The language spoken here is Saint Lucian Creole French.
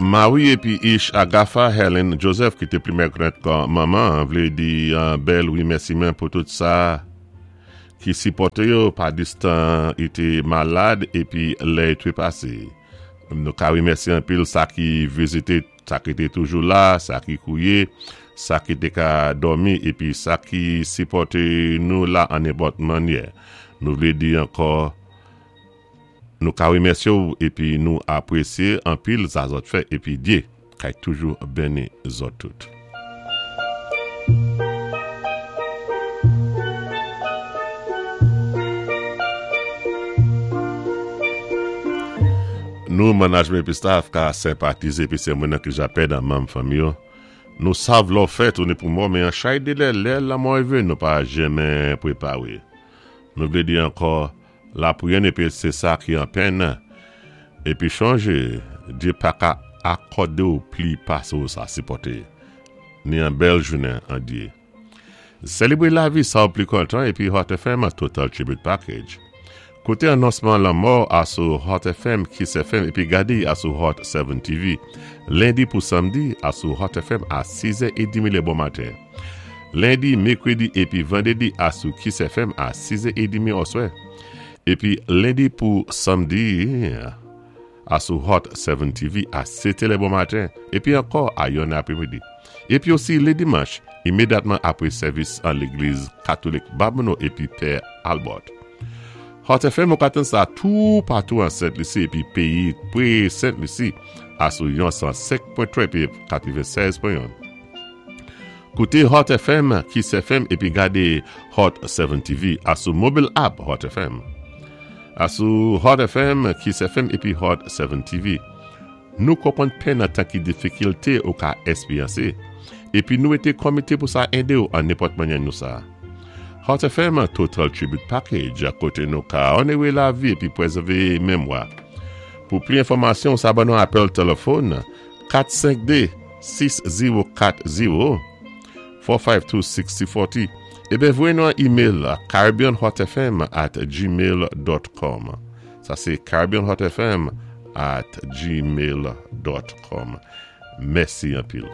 Mari épi Ish Agatha Helen Joseph ki té plimen konèt kon Manman vlé di an bèl wimèsiman pou tout sa ki sipòté yo padistan i té malad épi lè i trepasé. Nou ka wimèsyé anpil sa ki vizité, sa ki té toujou la, sa ki kouwé, sa ki té ka dòmi épi sa ki sipòté nou la an nenpòt mannyè. Nou vlé di ankò. Nou ka remèsye w epi nou apresye anpil sa zòt fè epi Dye kay toujou beni zòt tout. Nou manajmen epi staf ka senpatize epi se mwen nan ki ja pèd an manm fanmi yo. Nou sav lò fè tounen pou mò men an chay delè lè lanmò rive nou pa jenmen prepare. Nou vle di ankò Lapriyè n epi se sa ki an pèn, epi chonje Dye pa ka akòde w pli pase w sa sipòte, ni an bèl jounen an Dye. Selebre lavi sa w pli kontan epi Hot FM Total Tribute Package. Koute anonsman lanmò a sou Hot FM, Kiss FM epi gade a sou Hot 7 TV, lendi pou samdi a sou Hot FM a 6 è edmi lè bon maten. Lendi, Mekredi epi Vandredi a sou Kiss FM a 6 è edmi oswè. Epi Lendi pou Samdi a sou Hot 7 TV a 7 è lè bon maten epi ankò a 1 è apremidi. Epi osi le Dimanch imedyatman apre sèvis an legliz Katolik Babonneau epi Pè Albert. Hot FM ou ka tann sa tou patou an Sent Lisi epi peyi pre Sent Lisi a sou yon 105.3 epi 96.1. Koute Hot FM, Kiss FM epi gade Hot 7 TV a sou mobile app Hot FM. A sou Hot FM, Kiss FM epi Hot 7 TV. Nou konprann pen nan tan ki difikilte ou ka esperyanse, epi nou ete komite pou sa ede ou an nenpòt mannyè nou sa. Hot FM Total Tribute Package kote nou ka onere lavi epi prezève memwa. Pou pli enfòmasyon ou sa ban nou apèl telefòn 452 6040 452 6040 Eben voye nou an email a caribbeanhotfm at gmail dot com Sa se caribbeanhotfm at gmail dot com Mèsi anpil.